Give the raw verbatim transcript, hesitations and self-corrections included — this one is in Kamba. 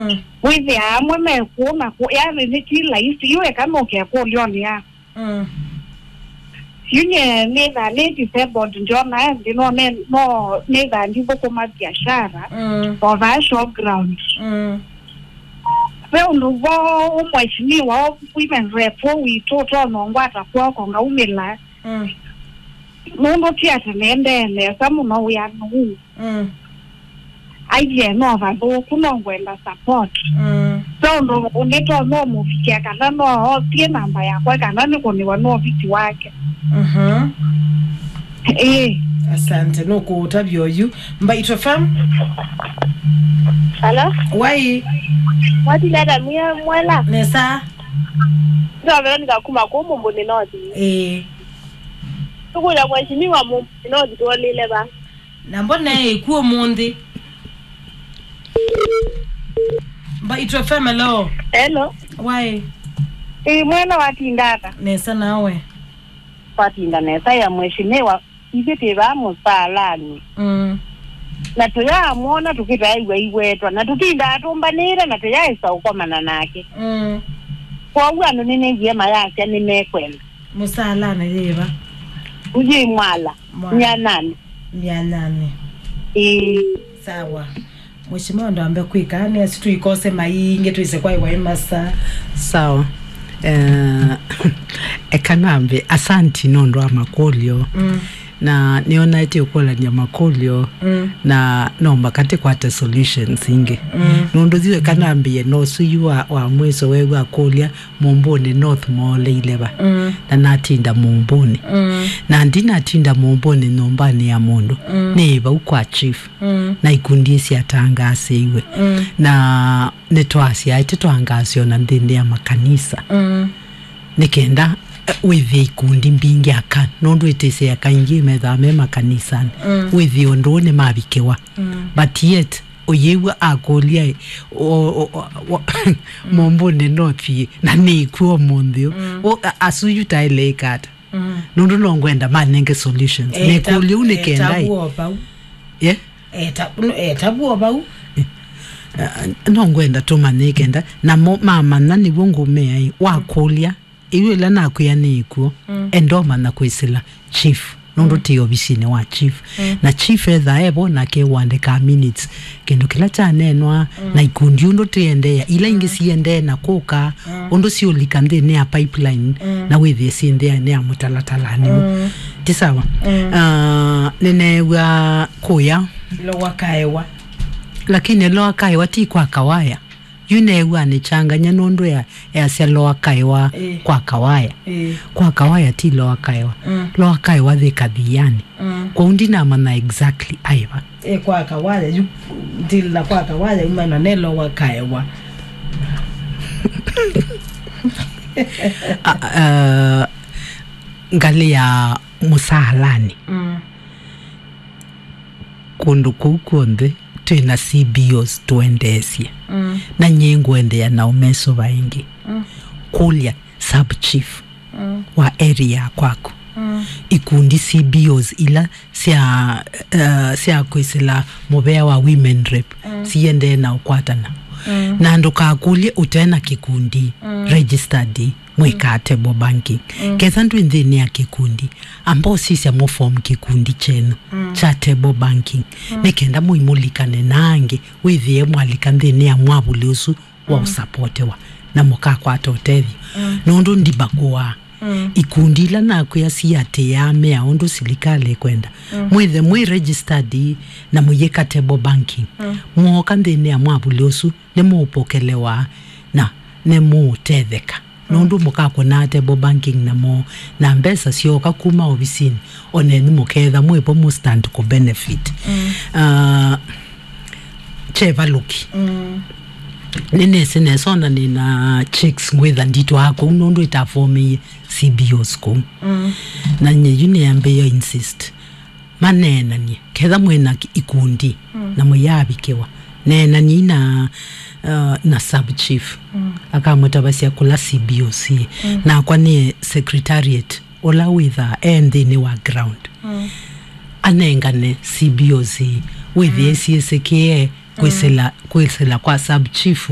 Mm. Wĩthĩaa amwe me kũũ na kũũ, yani nĩ ti laisi. Yu eka nũke kũlyonĩ ya. Mm. Yu nye nĩthaa nĩ disabled, ndiona nthĩ, no ne-, no nĩthaa ndithũkũma biashara, mm, o vaa showground. Mm. Ve ũndũ vo mheshimiwa women rep witũ ũtonongwata kw'oko ngaumĩla. Mm. Nũndũ ti atĩ nĩendee nesa mũno wĩanĩ ũũ. Mm. Aiye no vathũku, no ngwenda support. Mm. So ũndũ ũngĩ to no mũvikia kana no osie namba yakwa kana nĩkũnĩwa no viti wake. Mhm. Ĩĩ. Asante, nũkũũtavya oyu. Mbaitũ F M. Hello? Wai? Mwatileta mwe-, mwela? Nesa. Ndio Veronica kuma kũũ Mumbuni North. Ĩĩ. Tũkũlya mheshimiwa Mumbuni North tuolile va? Na mbona ĩkw'o ũmũnthĩ? Mbaitũ F M, hello. Hello. Wai? Ĩĩ, mwela watinda ata? Nesa nawe? Watinda nesa ya mheshimiwa. Ithyĩ twĩ vaa mũsaalanĩ. Mm. Na tũyaamwona tũkĩtaĩw'a iwetwa, na tũtindaa tũmbanĩĩte na tũyaĩsa ũkomana nake. Mm. Kwoou andũ nĩnĩw'ie mayasya nĩmekwenda. Mũsaalanĩ yĩva? Yĩ Mwala. Mwala. Myanyanĩ. Myanyanĩ. Ĩĩ. Sawa. Mheshimiwa ndwambe kwĩka, nĩ asu tũikose maingĩ twĩse kwa iwa imasa. Sawa. Eh, eka nambe, asanti nũndũ wa makũlyo. Mm. Na nĩonaĩte ũkũlany'a makũlyo, mm, na no maka tĩkwate solutions ingĩ. Mm. Nũndũ yu eka nambĩe, no ũsu yu wa, wa mwĩso weew'a akũlya, Mumbuni North mooleile va? Mm. Na natinda Mumbuni. Mm. Na ndinatinda Mumbuni nyũmbanĩ ya mũndũ. Mm. Nĩ vau kwa chief. Mm. Na ikundi syatangaasiwe. Mm. Na nĩtwasyaĩte twangaasyo na nthĩnĩ ya makanisa. Mm. Nĩ kenda, eh, wĩthĩe ikundi mbingĩ aka, nũndũ ĩtĩsĩ aka ingĩ methaa me makanisanĩ. Mm. Wĩthĩe ũndũ ũũ nĩmavikĩwa. Mm. But yet, ũyĩw'a akũlya, o, o, o, o, Mumbuni North ĩ, na nĩkw'o ũmũnthĩ ũũ. Mm. O, a-, asu yu taĩle ĩka ata? Mm. Nũndũ no ngwenda manenge solutions. Eh, nĩkũlya ũu nĩ eh, kenda ĩ. Tabu o vau. Yeah? Eh, ta-, no, eh, tabu o vau. Eh, no ngwenda tũmanye kenda. Namo mamanya nĩw'o ngũmea ĩ. Wakũlya, ĩu ĩla nakwĩa nĩ ĩkw'o. Mm. Enda ũmanya kwĩsĩla chief. Nũndũ, mm, tĩ ovisinĩ wa chief. Mm. Na chief ethaa evo nake ũandĩkaa minutes. Kĩndũ kĩla kyaneenwa, mm, na ikundi ũndũ tĩendeea, ila ingĩ, mm, siendee na kũka, mm, ũndũ siũlika nthĩnĩ ya pipeline, mm, na wĩthĩe syĩ nthĩnĩ ya mũtalatalanĩ ũũ. Mm. Ti sawa? Mm. Ah, nĩneew'a kũya. Lower Kaewa. Lakini Lower Kaewa ti kwa Kawaya. Yu neew'a nĩkyangany'a nũndũ ya, yasya Lower Kaewa, ĩĩ, kwa Kawaya. Ĩĩ. Kwa Kawaya ti Lower Kaewa. Mm. Lower Kaewa yĩ Kathiani. Mm. Kwoou ndinamanya exactly aĩ va. Ĩ, kwa Kawaya, yu, ndili na kwa Kawaya, umana ne Lower Kaewa. A, a, ngalĩ ya mũsaalanĩ. Mm. Kũndũ kũu kw'onthe twĩ na C B Os tũendeesye. Mm. Na nyie ngũendeea na ũmesũva ĩngĩ. Mm. Kũlya sub chief, mm, wa area ya kwaku. Mm. Ikundi C B Os ila sya, eh, sya kwĩsĩla mũvea wa women rep, mm, siendee na ũkwatana. Mm. Na ndũkakũlye ũte na kĩkundi, mm, registered mwĩkaa table banking. Mm. Ketha ndwĩ nthĩnĩ ya kĩkundi, amba ũsisya mũ form kĩkundi kyenyu, mm, kya table banking. Mm. Nĩ kenda mũimũlikane na angĩ, wĩthĩe mwalika nthĩnĩ ya mwavuli ũsu wa, mm, ũsapotewa, na mũkakwata ũtethyo. Mm. Nũndũ ndibakũaa. Mm. Ikundi ila nakwĩa siatĩĩaa mea ũndũ silikalĩ ĩkwenda. Mm. Mwĩthe mwĩ registered na mũyĩka table banking. Mm. Mwooka nthĩnĩ ya mwavuli ũsu, nĩmũũpokelewa na nĩmũũtetheka. Mm. Nũndũ mũkakũnaa table banking namo, na mbesa syooka kuma ovisinĩ, onenyu mũkeetha mwĩvo mũ stand kũ benefit. Mm. Ah, Chevaluki. Mm. Nĩnĩsĩ nesa ona nĩ na checks ngwĩtha nditwaa kũu nũndũ ĩtafomĩie C B Os kũu. Mm. Na nyie yu nĩambĩĩa insist maneenanie, ketha mwĩ na ki-, ikundi, mm, na mũyaavikĩwa, neenaniai na, uh, na sub chief. Mm. Akamũtavasya kũla C B Os ĩ. Mm. Nakwa nĩ secretariat ũla wĩthaa e nthĩnĩ wa ground. Mm. Anengane C B Os ĩ, wĩthĩe, mm, syĩsĩkĩe kwĩsĩla, kwĩsĩla kwa sub chief